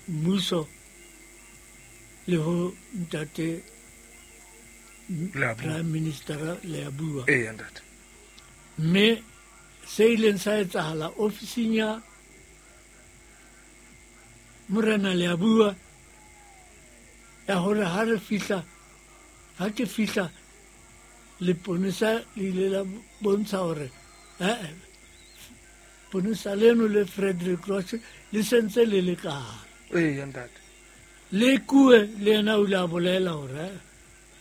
Mmuso le ho ntate Prime Minister Leabua. Ee, ntate. Mme se ileng sa etsahala ofising ya Morena Leabua ya hore ha re fihla, ha ke fihla, leponesa le ile la bontsha hore ee, ponesa leno le Frederick Roche le sentse le le ka hare. Ee, ntate. Le kue le yena o ile a bolela hore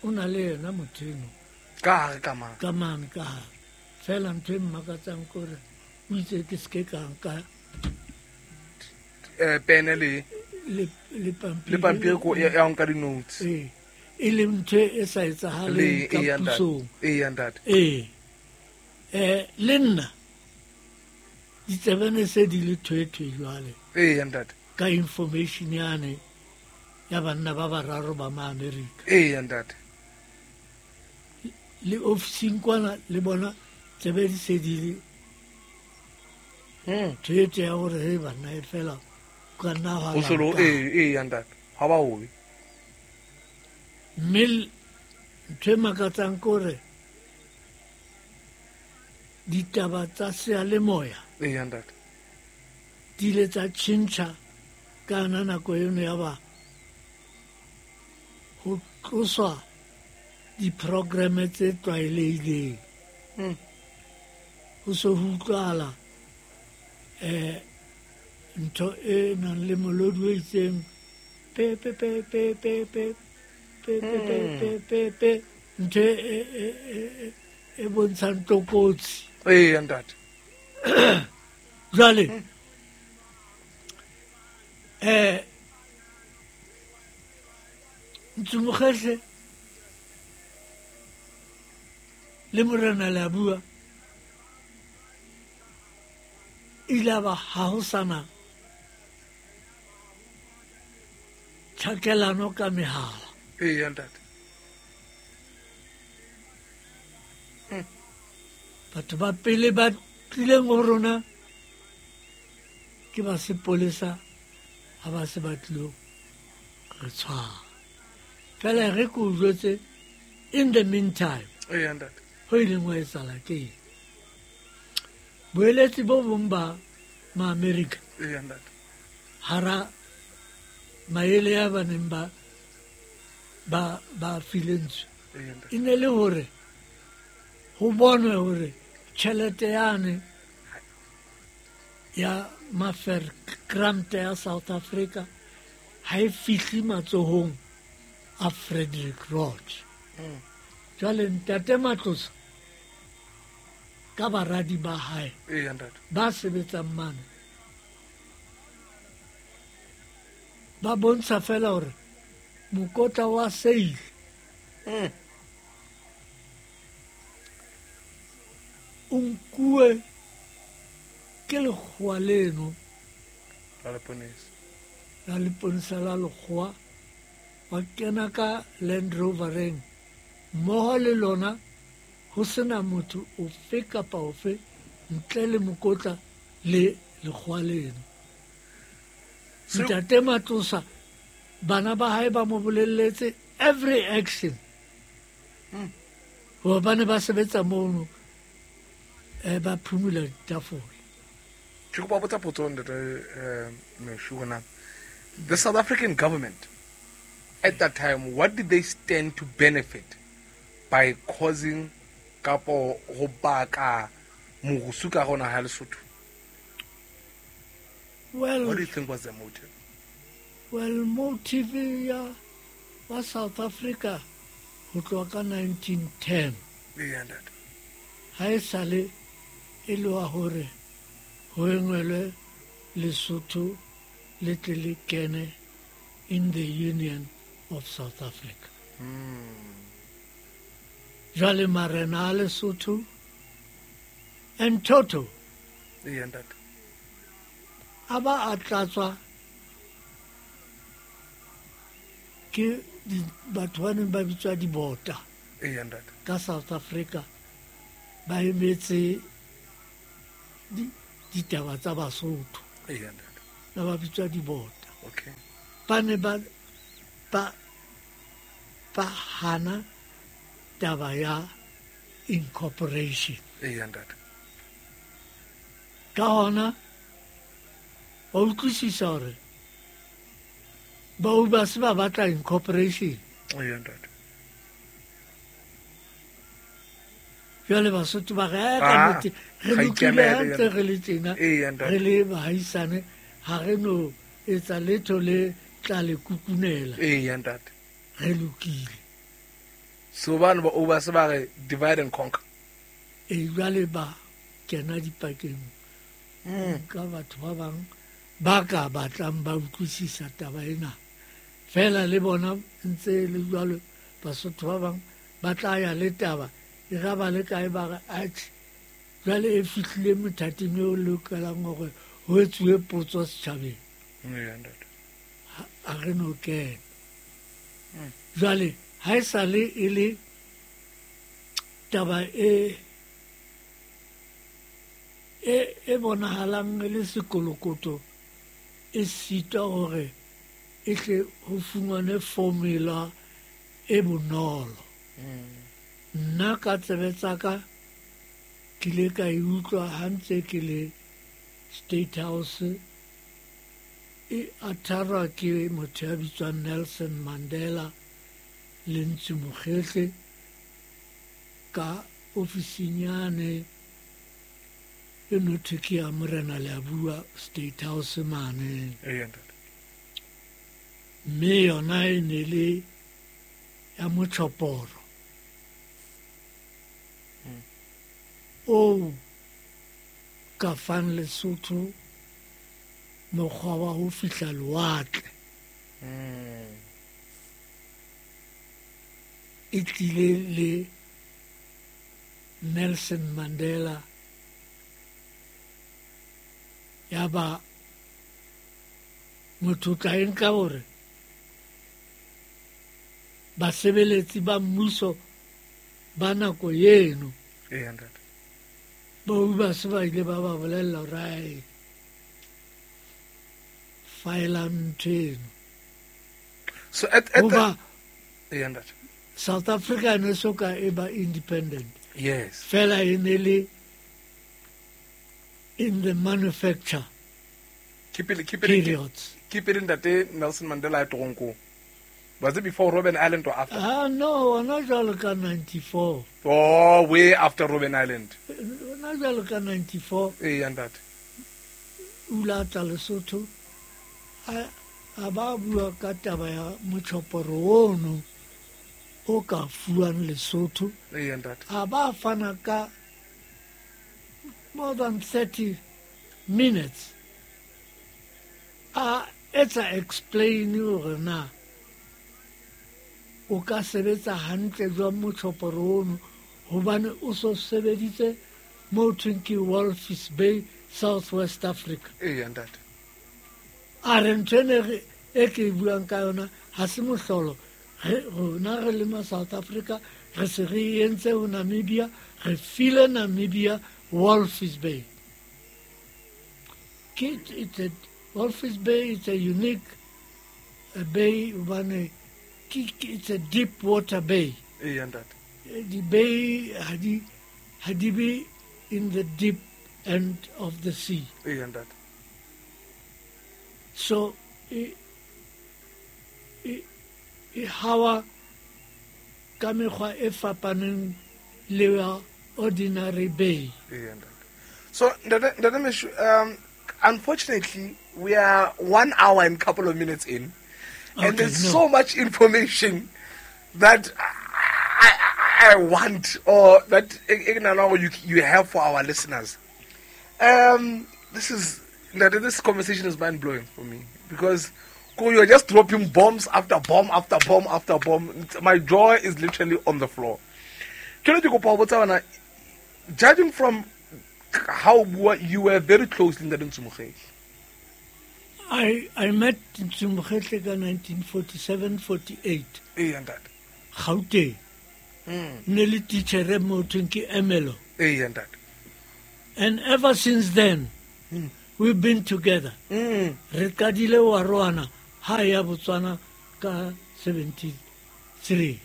o na le yena motho eno ka hare ka mane. Ka mane ka hare. Fela ntho e mmakatsang ke hore o itse ke seke ka nka pene le le pampiri, le pampiri ko ya nka di-notes. Ee, e leng ntho e sa etsahaleng ka pusong. Ee, ntate. Ee, le nna ditsebene se di le thwethwe jwale. Ee, ntate. Ka information yane ya banna ba bararo ba ma-Amerika. Ee, ntate. Le ofising kwana le bona tsebe di se di le thwethwe ya hore he banna e fela ka nna hwa O solo lanka. Ee, ntate. Ha ba hobe. Mme ntho e makatsang ke hore ditaba tsa seyalemoya Ee, ntate. di ile tsa tjhentjha ka yona nako eno ya ba ho tloswa di-programme tse tlwaelehileng. Ho se ho utlwahala ntho e nang le molodi o itseng pe pe pe pe pe pe pe pe pe pe pe pe ntho e bontshang tlokotsi. Ee, ntate. Jwale Ntsumokgehle le Morena Leabua ile a ba ha ho sana tjhakelano ka mehala. Ee, ntate. Batho ba pele ba tlileng ho rona ke ba sepolesa ha ba se ba tlilo re tshwara. Fela re ke o jwetse, in the meantime, Ee, ntate. ho ileng wa etsahala ke eng? Boeletsi bo bong ba ma-Amerika Ee, ntate. hara maele a ba neng ba file ntsu. Ee, ntate. E ne le hore ho bonwe hore tjhelete yane ya Maferkrante ya South Africa ha e fihle matsohong a Frederick Roach. Jwale ntate Matlosa ka baradi ba hae Ee, ntate. ba sebetsang mane ba bontsha fela hore mokotla wa seile o nkuwe ke lekgowa leno La leponesa. La leponesa la lekgowa, wa kena ka Land Rovereng mmoho le lona, ho sena motho ofe kapa ofe ntle le mokotla le lekgowa leno. Ntate Matlosa bana ba hae ba mo bolelletse every action. Hoba ba ne ba sebetsa mono, ba phumula ditafole. Ke kopa botsa potso ntate Meshoe na. The South African government at that time, what did they stand to benefit by causing kapo ho baka morusu ka hona ha Lesotho? Well, what do you think was the motive? Well, motive ya wa South Africa ho tloha ka 1910. Ee, ntate. Ha e sale e le wa hore ho engwelwe Lesotho le tle le kene in the Union of South Africa. Jwale marena a Lesotho and Toto Ee, ntate. a ba a tlatswa ke batho ba neng ba bitswa dibota Ee, ntate. ka South Africa ba emetse ditaba tsa Basotho. Ee, ntate. Ba ba bitswa dibota. Okay. Ba ne ba ba ba hana taba ya incorporation. Eya ntate. Ka hona wa utlwisisa hore bao ba se ba batla incorporation. Eya ntate. Jwale Basotho ba re ka nnete re Ga lokile ikemele ha ntse yena. re le tjena, Eya, ntate. re le bahaisane, ha re no etsa letho le tla le kukunela. Eya ntate. Re lokile. So bana ba o ba se ba re divide and conquer. E jwale ba kena dipakeng ka batho ba bang ba ka batlang ba utlwisisa taba ena. Fela le bona ntse le jwalo Basotho ba bang ba tla ya le taba e ga ba le kae ba re atjhe jwale e fihlile mothating eo lokelang hore ho etsuwe potso setjhabeng. Eya ntate. Ha re no kena. Jwale ha e sale e le taba e e bonahalang e le sekolokoto e sitwa hore e tle ho fumanwe formula e bonolo. Nna ka tsebe tsa ka ke ile ka e utlwa ha ntse ke le State House e atharwa ke motho ya bitswang Nelson Mandela le Ntsu Mokhehle ka ofising yane e no thwe ke ya Morena Leabua State House mane. Eya ntate. Mme yona e ne le ya motjhoporo o ka fang Lesotho mokgwa wa ho fihla lewatle. E tlile le Nelson Mandela ya ba motho o tla e nka hore basebeletsi ba mmuso ba nako eno Eya ntate. ba se ba ile ba ba bolella hore ae faelang ntho eno. So at the Hoba Eya ntate. South Africa ne so ka e ba independent. Yes. Fela e ne le in the manufacture Keep it periods. Keep it ntate Nelson Mandela at toronkong. Was it before Robben Island or after? No, hona jwalo ka 94. Oh, way after Robben Island. Hona jwalo ka 94. Eya ntate. O la tla Lesotho a ba bua ka taba ya motjhoporo ono o ka fuwang Lesotho. Eya ntate. A ba fana ka more than 30 minutes a etsa explain hore na o ka sebetsa hantle jwang motjhoporo ono hobane o so sebeditse mo thweng ke Walvis Bay, South West Africa. Eya ntate. A re ntho ene e ke e buang ka yona ha se mohlolo. Rona re le ma South Africa re se re entse ho Namibia, re file Namibia Walvis Bay. It's a Walvis Bay is a unique bay hobane it's a deep water bay. Eya ntate. The bay ha di be in the deep end of the sea. Eya ntate. So e hawa ka mekgwa e fapaneng le ya ordinary bay. Eya ntate. So ntate Meshoe, unfortunately we are 1 hour and couple of minutes in, and Okay, there's no. so much information that I want, or that you have for our listeners. This conversation is mind blowing for me because you're just dropping bombs after bomb after bomb after bomb. My jaw is literally on the floor. Judging from how you were very close in the Ntsu Mokhehle. I met Ntsu Mokhehle ka 1947-48. Eya ntate. Gauteng. Ne le teacher mo thweng ke Emelo. Eya ntate. And ever since then, we've been together. Re qadile wa roana Ha ya Botswana ka 73.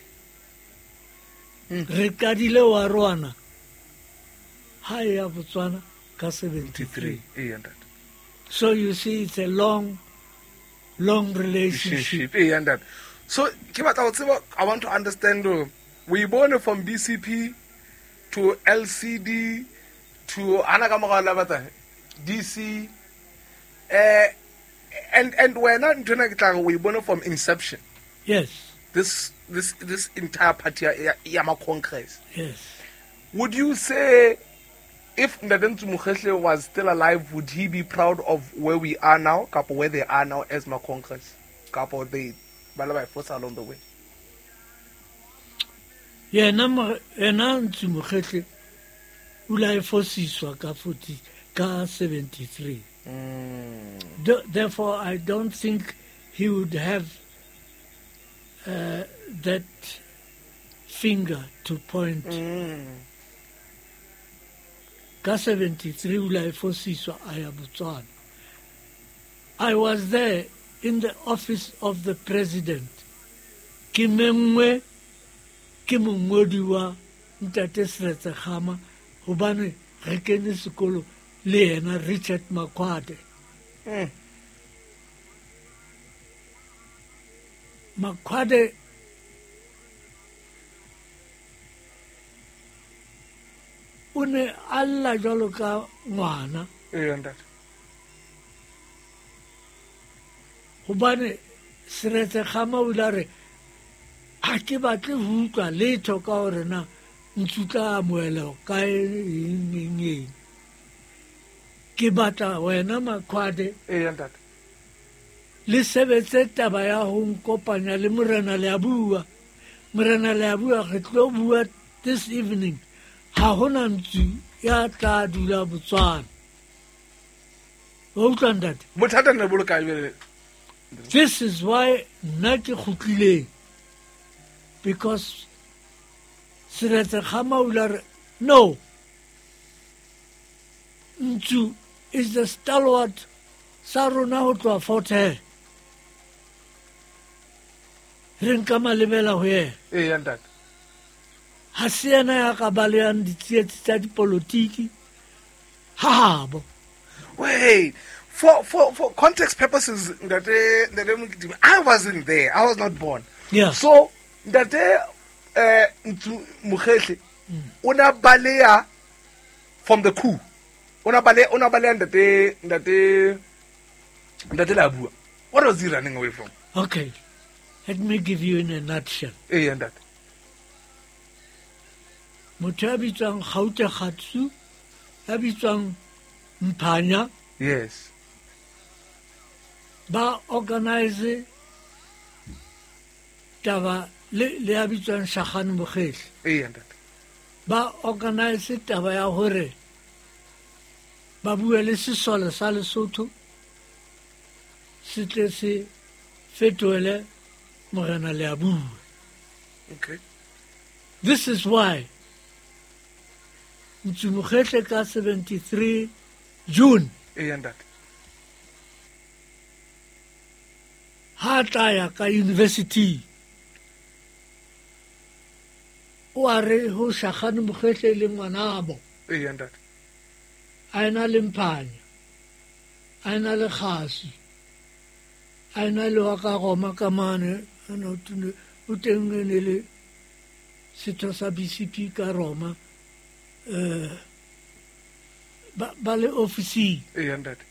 Re qadile wa rwana ha ya Botswana ka 73. Ee, ntate. So you see, it's a long, long relationship. Ee, ntate. So ke batla ho tseba, I want to understand, we born from BCP to LCD to ana ka morao la batla DC, and wena nthwena ke tla re we born from inception. Yes. This entire party ya ma Congress. Yes. Would you say if Ntate Ntsu Mokhehle was still alive, would he be proud of where we are now, kapo where they are now as ma Congress, kapo they ba le ba force along the way? Yena Ntsu Mokhehle o la e fosiswa ka 40 ka 73. Therefore, I don't think he would have that finger to point. Ka 73 o la e fosiswa a ya Botswana. I was there in the office of the president. Ke mengwe ke mongodi wa Ntate Seretse Khama hobane re kene sekolo le yena Richard Makwade. Makwade o ne a lla jwalo ka ngwana. Ee, ntate. Hobane Seretse Khama o ile a re ha ke batle ho utlwa letho ka hore na ntsu tla amohela kae eng eng eng. Ke batla wena Makwade. Ee, ntate. Le sebetse taba ya ho nkopanya le Morena Leabua. Morena Leabua re tlo bua this evening. Ha hona ntsu ya tla dula Botswana. Wa utlwa ntate? Bothata ne bo le kae jwale? This is why nna ke kgutlileng. Because Seretse Khama o ile a re no, Ntsu is the stalwart sa rona ho tloha Fort Hare. Re nka malebela ho yena. Ee, ntate. Ha se yena ya ka balehang ditsietsi tsa dipolotiki ha habo. Wait, for context purposes, Ntate Mokitimi, I wasn't there. I was not born. Yeah. So Ntate Ntsu Mokhehle o na baleha from the coup. O na baleha Ntate Leabua. What was he running away from? Okay. Let me give you in a nutshell. Ee, ntate. Motho ya bitswang Gaute Kgatsu, ya bitswang Mphanya. Yes. Ba organize taba le ya bitswang Shagane Mokhehle. Ee, ntate. Ba organize taba ya hore ba bue le sesole sa Lesotho se tle se fetohele Morena Leabua. Okay. This is why Ntsu Mokhehle ka 73 June. Ee, ntate. Ha tla ya ka university o a re ho Shagane Mokhehle le ngwanabo. Ee, ntate. A ena le Mphanya, a ena le Kgasi, a ena le wa ka Roma ka mane, o teng e ne le setho sa BCP ka Roma, ba le ofisi. Ee, ntate.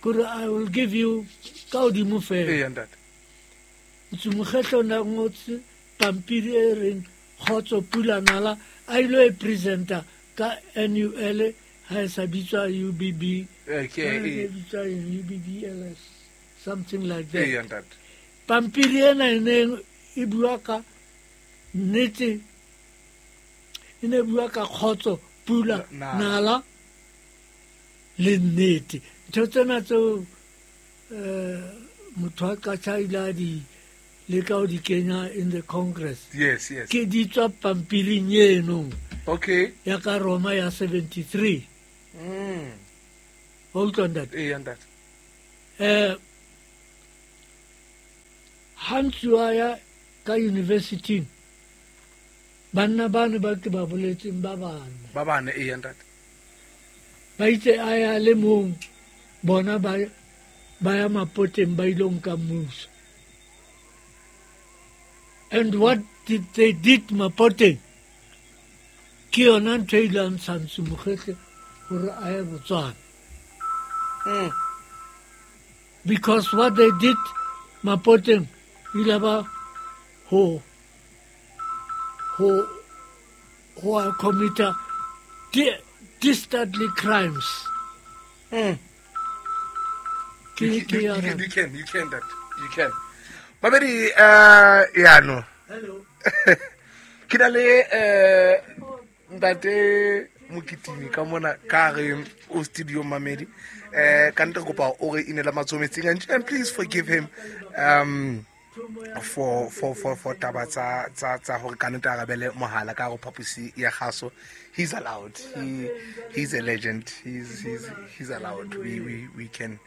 Kore I will give you ka hodimo fela. Ee, ntate. Ntsu Mokhehle o na ngotse pampiri e reng kgotso pula nala, a ilo e presenta ka NUL ha e sa bitswa UBB. Okay. E bitswa UBBLS, something like that. Ee, ntate. Pampiri ena e neng e bua ka nnete, e ne bua ka kgotso pula nala le nnete. Ntho tsena tseo motho a ka tjha ile a di leka ho di kenya in the Congress. Yes, yes. Ke di tswa pampiring eno. Okay. Ya ka Roma ya 73. Wa utlwa ntate? Ee, ntate. Ha Ntsu a ya ka university, banna bane ba ke ba boletseng ba bane. Ba bane, eya ntate. Ba itse a ya le mong, bona ba ya Mapoteng ba ilo nka mmuso. And what did they did Mapoteng? Ke yona ntho e ile ya ntsha Ntsu Mokhehle hore a ye Botswana. Because what they did Mapoteng ile ba ho commit dastardly crimes. You can. Babedi, yeah, no. Hello. Ke na le ntate Mokitimi ka mona ka re o studio mamedi. Ka ntle kopa o re inela matsoho metsing, and please forgive him for taba tsa hore ka nnete arabele mohala ka go phaposi ya kgaso. He's allowed. He's a legend. He's allowed. We can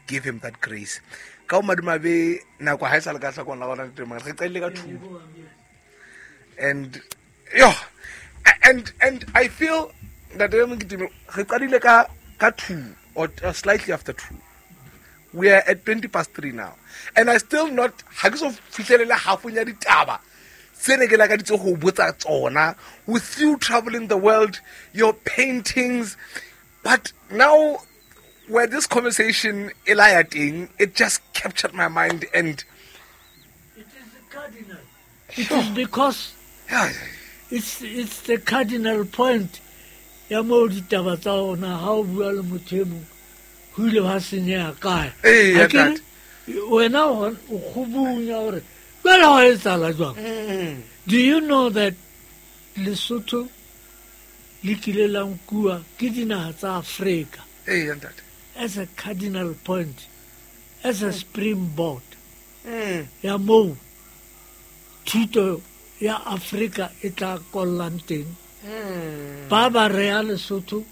give him that grace. Ka o madumabe nako ha e sa le ka hlakong la gona teng re qadile ka 2. And yo and I feel that re qadile ka 2 or slightly after 2. We are at 3:20 now. And I still not ha ke so fihlelele half ya ditaba tse ne ke lakaditse ho botsa tsona. With you traveling the world, your paintings, but now where this conversation elayating, it just captured my mind. And it is the cardinal. It is because it's the cardinal point. Ya mo ditaba tsa ona ha o bua le motho e mong ho ile ha senyeha kae. Eh, wena o kgobunya hore jwale ho etsahala jwang. Do you know that Lesotho le kile la nkuwa ke dinaha tsa Afrika? Eh, ntate. As a cardinal point, as a springboard. Ya moo thuto ya Afrika e tla kollang teng. Ba ba rea Lesotho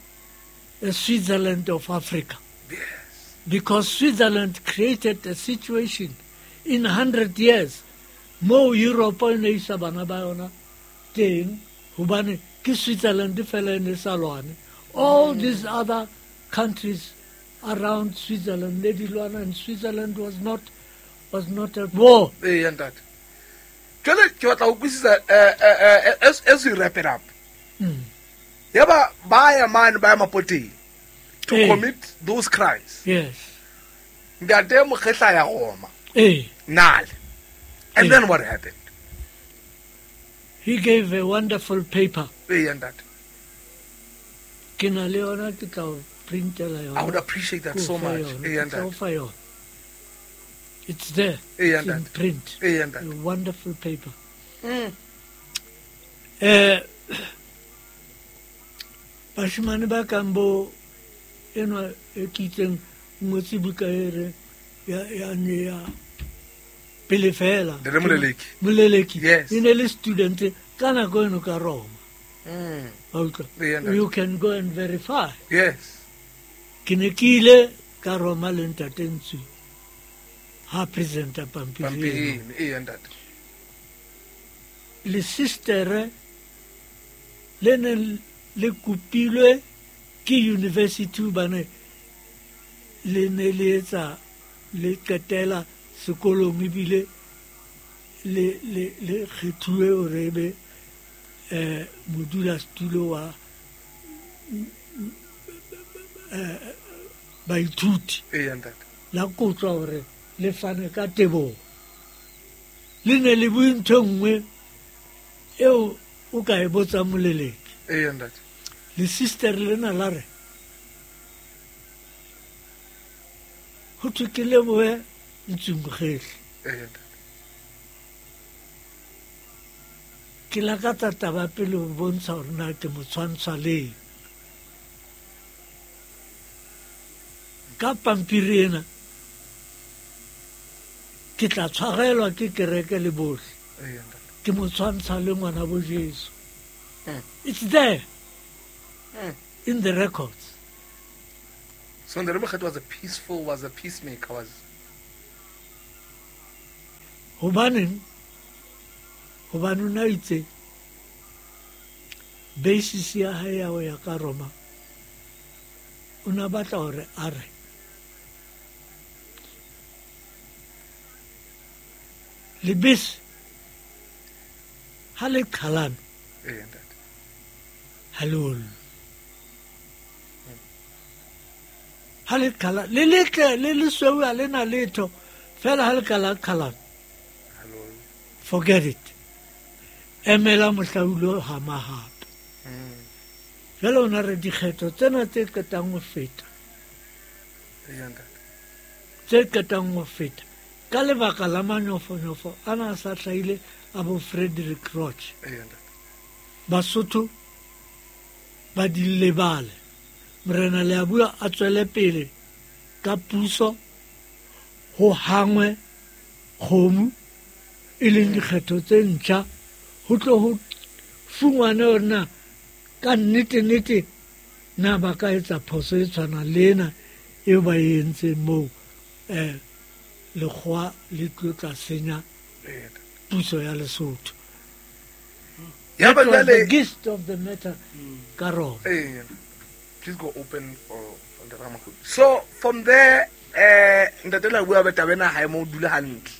a Switzerland of Africa. Yes. Because Switzerland created a situation in 100 years mo Europe e ne isa bana ba yona teng, hobane ke Switzerland fela e ne sa lwane. All these other countries around Switzerland ne di lwana, and Switzerland was not at war. Eh, ntate. Jwale ke batla ho utlwisisa as we wrap it up. Yaba ba ya mane ba ya Mapoteng to commit those crimes. Yes. Ntate Mokgehla ya Roma. Eh. Nale. And then what happened? He gave a wonderful paper. Eh, ntate. Ke na le yona, ke tla o printela yona. I would appreciate that so much. Eh, ntate. It's there. Eh, it's in print. Eh, ntate. A wonderful paper. Bashimane ba kang bo enwa e ke itseng ngotse buka e re ya ne ya pele fela. Moleleki. Yes. E ne le student ka nako eno ka Roma. You can go and verify. Yes. Ke ne ke ile ka Roma le ntate Ntsu ha presenta pampiri eno. Ntate. Le sistere le ne le kopilwe ke university hobane le ne le etsa le qetela sekolong ebile le kgethuwe hore ebe modulasetulo wa baithuti. La kotswa hore le fane ka teboho. Le ne le bue ntho e nngwe eo o ka e botsang Moleleki. Le sister lena la re ho thwe ke lebohe Ntsu Mokhehle. Ke lakatsa taba pele ho bontsha hore na ke mo tshwantsha leng. Ka pampiri ena ke tla tshwarelwa ke kereke le bohle. Ke mo tshwantsha le ngwana bo Jesu. It's there in the records. So Ntate Mokhehle was a peaceful, was a peacemaker, was. Hobaneng? Hobane o na itse basis ya hae ya ho ya ka Roma, o na batla hore a re lebese ha le qhalana ha le ollwe. Ha le qhala le letle le lesweu ha le na letho fela ha le ka la qhalana, forget it, emela mohlaulo hama hape. Jwale o na re dikgetho tsena tse qetang ho feta, tse qetang ho feta ka lebaka la manyofonyofo ana a sa hlahile a bo Frederick Roach, Basotho ba di lebale. Morena Leabua a tswele pele ka puso, ho hangwe kgomo e leng dikgetho tse ntjha, ho tlo ho fungwane hore na ka nnete-nnete na ba ka etsa phoso e tshwanang le ena eo ba e entseng moo, lekgowa le tlo tla senya puso ya Lesotho. Ya ba That was jwale the gist of the matter ka Roma. Please go open for Ntate Ramakgodu. So from there, Ntate Leabua ba taba ena ha e mo dule hantle.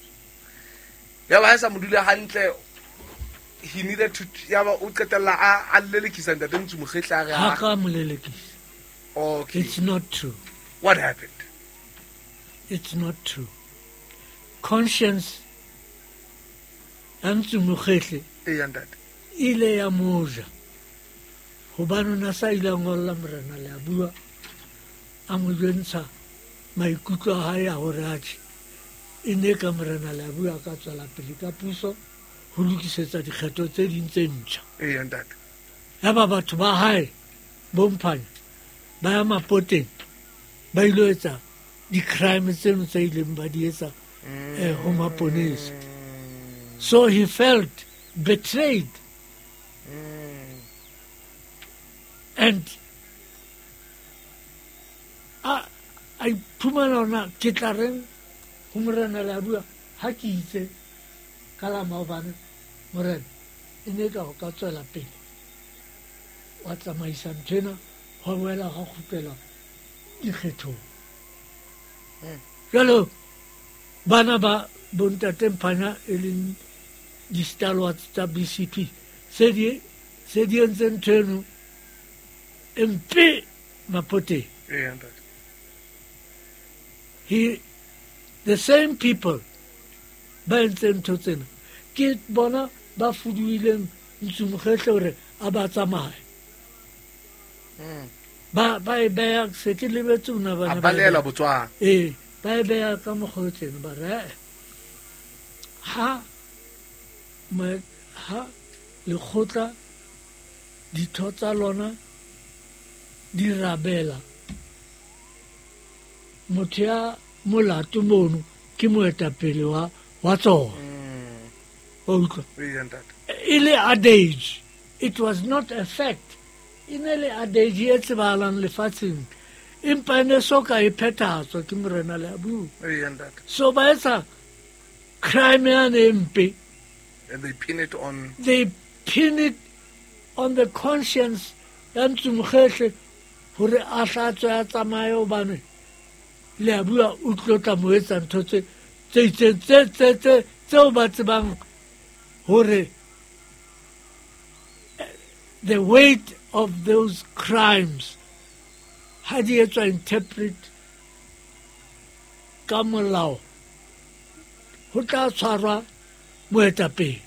Ya ba ha e sa mo dule hantle, he needed to, ya ba o qetella a lelekisa Ntate Ntsu Mokgehli a re Ha ka mo lelekisa. Okay. It's not true. What happened? It's not true. Conscience ya Ntsu Mokgehli ya ntate ile ya moja, hobane o na sa ile a ngolla Morena Leabua a mo jwentsha maikutlo a hae a hore atjhe e ne ka Morena Leabua a ka tswela pele ka puso ho lokisetsa dikgetho tse ding tse ntjha. Ya ntate. Yaba batho ba hae bomphanya ba ya mapoteng ba ilo etsa di-crime tseno tse ileng ba di etsa ho maponesa. So he felt betrayed. And a iphumana hore ke tla reng ho Morena Leabua ha ke itse ka la maobane Morena e ne ka ho ka tswela pele wa tsamaisa ntho ena, hwa boela hwa kgutlela dikgethong. Jwale bana ba bontate Mphanya e leng di-stalwarts tsa BCP se di entse ntho eno e mpe mapoteng. The same people ba entseng ntho tsena ke bona ba fuduileng Ntsu Mokgehli hore a ba tsamaye. Ba e beha, se ke lebetse ona bana A baleela Botswana. Ba e beha ka mokgwa o tjena, ba re ha lekgotla ditho tsa lona di rabela motho ya molato mono ke moetapele wa tsona. O utlwa? E le adage, it was not a fact. E ne le adage e tsebahalang lefatsheng, empa e ne so ka e phethahatswa ke Morena Leabua. So ba etsa crime yane e mpe. And they pin it on, they pin it on the conscience ya Ntsu Mokgehli hore a hlatswe a tsamaye, hobane Leabua o tlo tla mo etsa ntho tse itseng tse tseo ba tsebang hore the weight of those crimes ha di etswa interpret ka molao ho tla tshwarwa moetapele.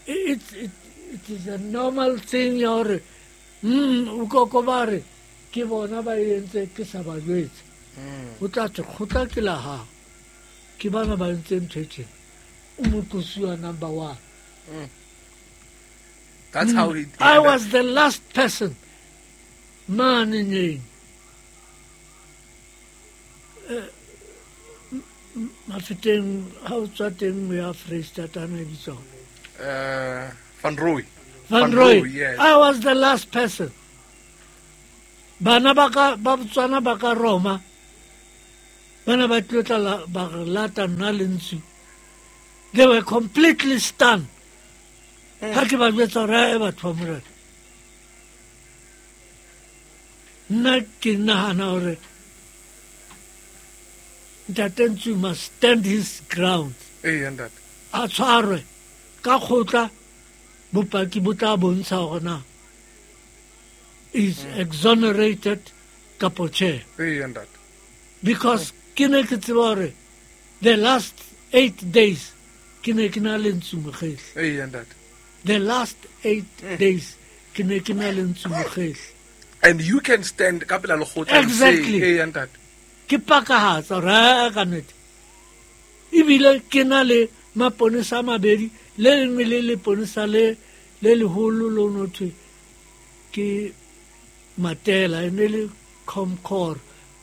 It is a normal thing ya hore o koko ba re ke bona ba entse ke sa ba jwetse. O tla thwe kgotla ke la hao, ke bana ba entse ntho e tjena, o moqosuwa number one. That's how he. I was the last person mane nyeng Mafeteng ha o tswa teng o ya Freistata e bitswang Van Roy. Van Roy. Yes. I was the last person. Bana ba ka ba Botswana ba ka Roma Bana ba tlilo tla ba re lata nna le Ntsu. They were completely stunned. Ha ke ba jwetsa hore e batho ba Morena. Nna ke nahana hore Ntate Ntsu must stand his ground. Ee, ntate. A tshwarwe ka kgotla, bopaki bo tla bontsha hore na is exonerated kapo tjhe. Ee, ntate. Because ke ne ke tseba hore the last 8 days ke ne ke na le Ntsu Mokgehli. Ee, ntate. The last 8 days ke ne ke na le Ntsu Mokgehli. And you can stand ka pela lekgotla and say, Exactly. Ee, ntate. Ke pakahatsa hore ha ka nnete. Ebile ke na le maponesa a mabedi, le lengwe le leponesa le leholo lo no thwe ke Matela, e ne le Comcor.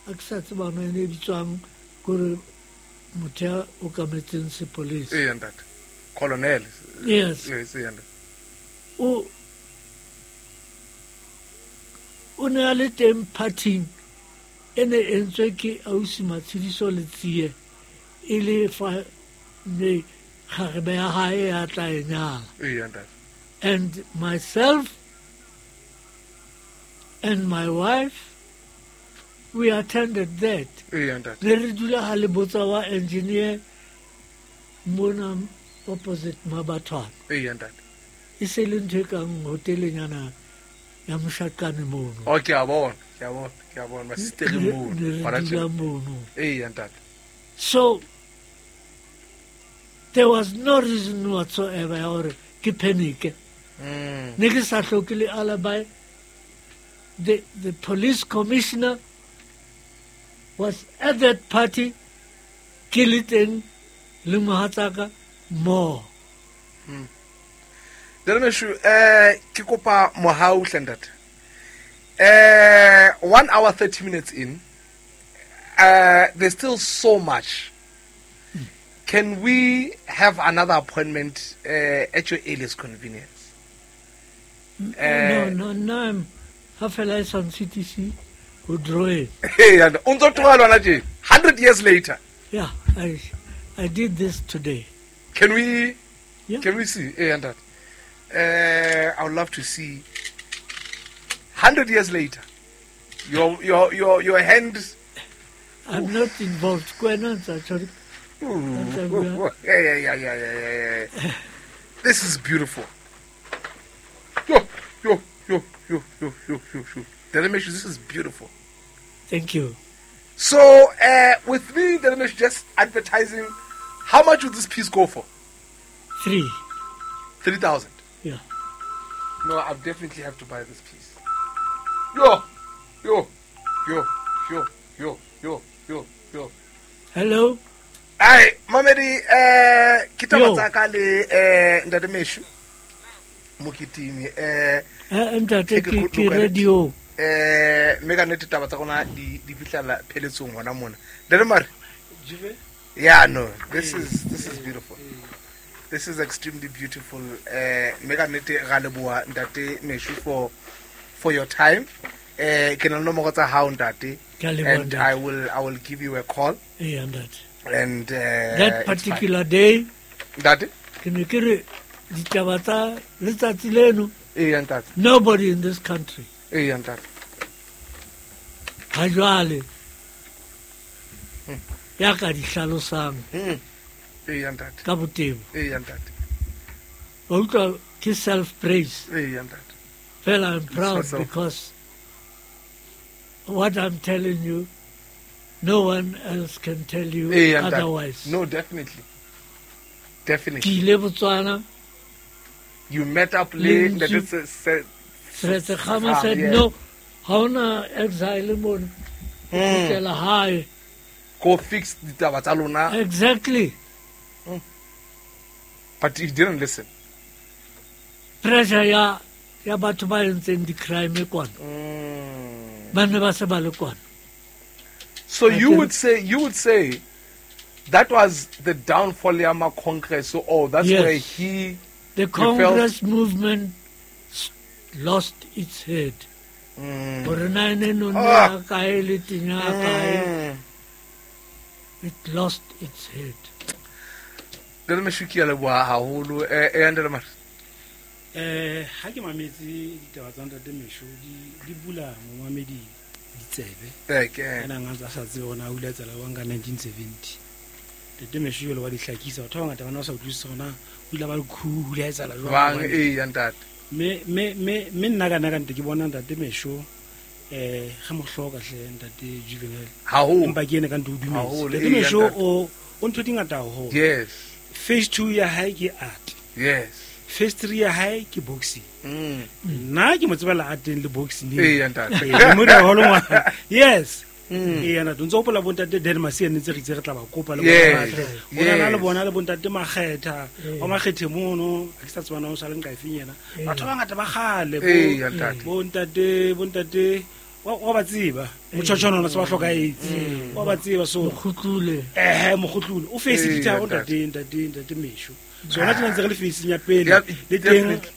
A ke sa tseba hore e ne e bitswang kore motho ya okametseng sepolesa. Ee, ntate. Colonel. Yes. Yes, ee, ntate. O ne a le teng partying e ne e entswe ke ausi Matshidiso Letsie, e le fa ne kgarebe ya hae ya tla e nyala. Ee, ntate. And myself and my wife, we attended that. Ee, ntate. Ne re dula ha le botsa wa engineer mona opposite Mabathwana. Ee, ntate. E se le ntho e kang hotelenyana ya moshakane mono. Oh, ke a bona, ke a bona, ke a bona. Masistere mono. Ne re Hona dula tjena. mono. Ee, ntate. So there was no reason whatsoever ya hore ke panic. Ne ke sa hloke le alibi. The police commissioner was at that party, ke le teng le mohatsaka mo. Dalemeshu, ke kopa mohau hle ntate. 1 hour 30 minutes in, there's still so much. Can we have another appointment at your earliest convenience? No, no, no, I'm ha fela e sa ntshitise ho drawing. Hey, and o ntso tloha le hona tje, 100 years later. Yeah, I did this today. Can we? Yeah. Can we see? Hey, and that. I would love to see. 100 years later, your hand. I'm not involved. Kwena ntsa tjho. Yeah. This is beautiful. Yo, yo, yo, yo, yo, yo, yo, yo. Dalemeshu, this is beautiful. Thank you. So, with me, Dalemeshu, just advertising, how much would this piece go for? 3. 3,000. Yeah. No, I definitely have to buy this piece. Yo, yo, yo, yo, yo, yo, yo, yo. Hello. Ai, mamedi, ke taba Yo. tsa ka le, Ntate Meshu Mokitimi, Ntate, Take a good ke look at it. radio. Mme ka nnete taba tsa rona di fihlela pheletsong hona mona. Ntate Mare. Yeah, no, this is beautiful. This is extremely beautiful. Mme ka nnete ra leboha Ntate Meshu for your time. Ke na le nomoro tsa hao, Ntate. Ke a leboha, And Ntate. I will give you a call. Ee, Ntate. And That it's fine. particular day, Ntate? ke ne ke re ditaba tsa letsatsi leno, Ee, Ntate. nobody in this country Ee, Ntate. ha jwale ya ka di hlalosang Ee, Ntate. ka botebo. Ee, Ntate. Wa utlwa ke self praise. Ee, Ntate. Fela I'm proud So-so. because what I'm telling you, no one else can tell you Ee, Ntate. otherwise. No, definitely. Ke Definitely. ile Botswana, You met up le Le Ntate Ntsu- Se- Seretse Khama said, yeah. no, ha hona exile mona. Kgutlela hae. Go fix ditaba tsa lona. Exactly. But he didn't listen. Pressure ya batho ba entseng di-crime kwana. Ba ne ba se ba le kwana. So I you can- would say that was the downfall ya ma Congress. So, oh, that's Yes. where he The felt- Congress movement lost its head. Hore na e ne nonne Ah. ya kae le teng ya kae. It lost its head. Ntate Meshoe, ke a leboha haholo. Eh, ntate Mare. Ha ke mametse ditaba tsa ntate Meshoe, di bula momamedi ditsebe. Ke. Ena a ntse a sa tsebe hore na o ile a tsela jwang ka 1970. Ntate Meshoe jwale wa di hlakisa. Batho ba bangata ba ne ba sa utlwisise hore na o ile a ba le coup, o ile a etsahala jwang. Jwang, ee, ya ntate. Mme nna ka nna ka nte ke bona ntate Meshoe, re mo hloka hle ntate Juvenal. Haholo. Empa ke ene ka nte o dumetse. Haholo, Ntate ee, Meshoe ntate. o ntho di ngata haholo. Yes. Phase 2 ya hae ke art. Yes. Phase 3 ya hae ke boxing. Nna ke mo tsebela arteng le boxing. Ee, ya ntate. Ee, mo dira haholo ngwana. Yes. Ee, ya ntate. O ntso hopola bontate Dan Masia ne ntse re itse re tla ba kopa le bona Yes. ba tle. O na le Yes. bona le bontate Makgetha, wa Makgethe mono, ha ke sa tseba na o sa le nka efeng yena. Batho ba bangata ba kgale, Ee, ya ntate. bontate, wa ba tseba. Motjhotjhono ona se ba hlokahetse. Wa ba tseba, so Mokgutlule. Mokgutlule. O face Ee, ditharo, ya ntate. ntate Meshoe. So hona tjena ntse re le facing ya pele. Yeah, Le teng, definitely.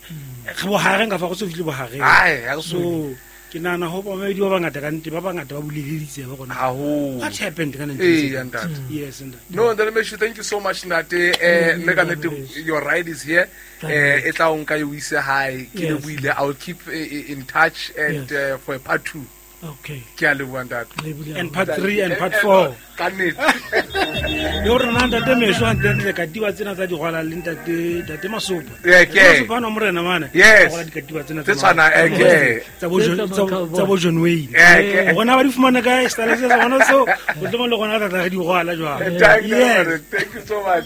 re bohareng ka fa, go so fihle bohareng. Ai, ha re So, ke nahana ho bamamedi ba bangata ka nnete, ba bangata ba buleleditse ba rona. Haholo. What happened ka Ee, 1970? ya ntate. Yes, ntate. No, Ntate Meshoe, thank you so much, ntate. Nne ka nnete, your ride is here. Thank you. E tla o nka e o ise hae. Ke Yes. lebohile. I will keep in touch and Yes. for a part 2. Okay. Ke a leboha, ntate. Lebohile And haholo. part 3 and part 4. Ka nnete. Le hore na ntate Meshoe hantle-ntle katiba tsena tsa digwala le ntate Masopa. Yeah, ke. Ntate Masopa ana morena mane. Yes. A rwala dikatiba tsena Tse tshwanang, ke. tsa bo John, Tse tsa tsa bo John Wayne. Yeah, ke. Rona ba di fumana kae style se sa bona seo? O tlo le rona re tla re di rwala jwang. Thank you, Yes. thank you so much.